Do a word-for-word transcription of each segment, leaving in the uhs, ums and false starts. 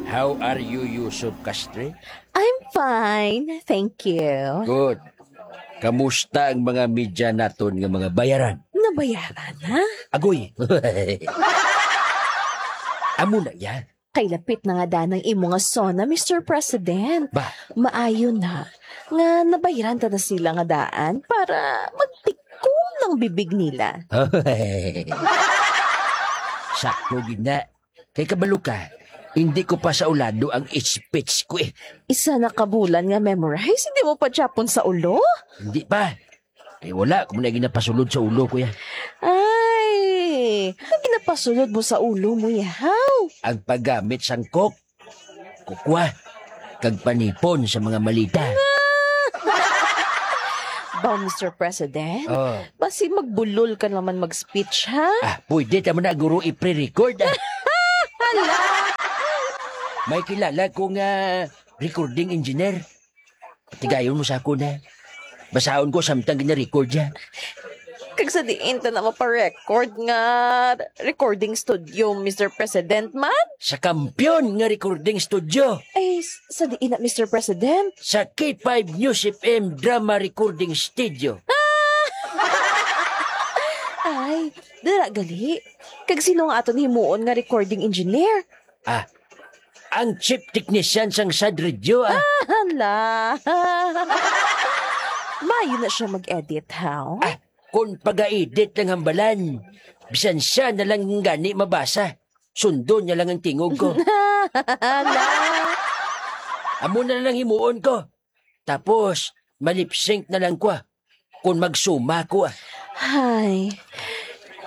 How are you, Yusuf Castre? I'm fine, thank you. Good. Kamusta ang mga media naton nga mga bayaran? Nabayaran na? Agoy! Amo na yan. Kay lapit na nga daan ang imo nga SONA, Mister President. Ba? Maayo na nga nabayaran ta na sila nga daan para magtikong ang bibig nila. Sakto gid na. Kay kabalo ka, hindi ko pa saulado ang speech ko eh. Isa na ka bulan nga memorize, hindi mo pa gyapon saulo? Hindi pa. Ay, wala ko na ginapasulod sa ulo ko ya. Ay, ang ginapasulod mo sa ulo mo, yahaw? Ang paggamit sang Coke, kukwa, kag panipon sa mga malita. Ba, Mister President? Oh. Basi magbulol ka naman mag-speech, ha? Ah, pwede ta man na, guro, i-pre-record, ah. Hala! May kilala ko nga recording engineer. Tigayon mo sa ako na. Basaon ko samtang gina-record ya. Kag sa diin ta na mapa-record nga recording studio, Mister President, man? Sa kampiyon nga recording studio. Ay, s-, sa diin na, Mister President? Sa K five News F M Drama Recording Studio. Ay, dira gali. Kag sino nga aton himuon nga recording engineer? Ah, ang chief technician sang sad radio, ah. Ah, hala. Maayo na siya mag-edit, haw? Ah, kung pag-edit lang hambalan, bisan siya na lang gani mabasa. Sundon niya lang ang tingog ko. Hala. Amo na lang himuon ko. Tapos, malip sync na lang ko, ah. Kung magsuma ko, ah. Hay,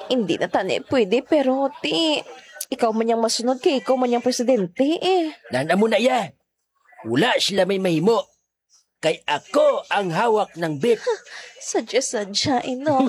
hindi na tani pwede, pero ti, ikaw man yang masunod kay ikaw man yang presidente, eh. Nan, amo na ya. Wala sila may mahimo. Kay ako ang hawak ng beat. Sadya-sadya, Inong.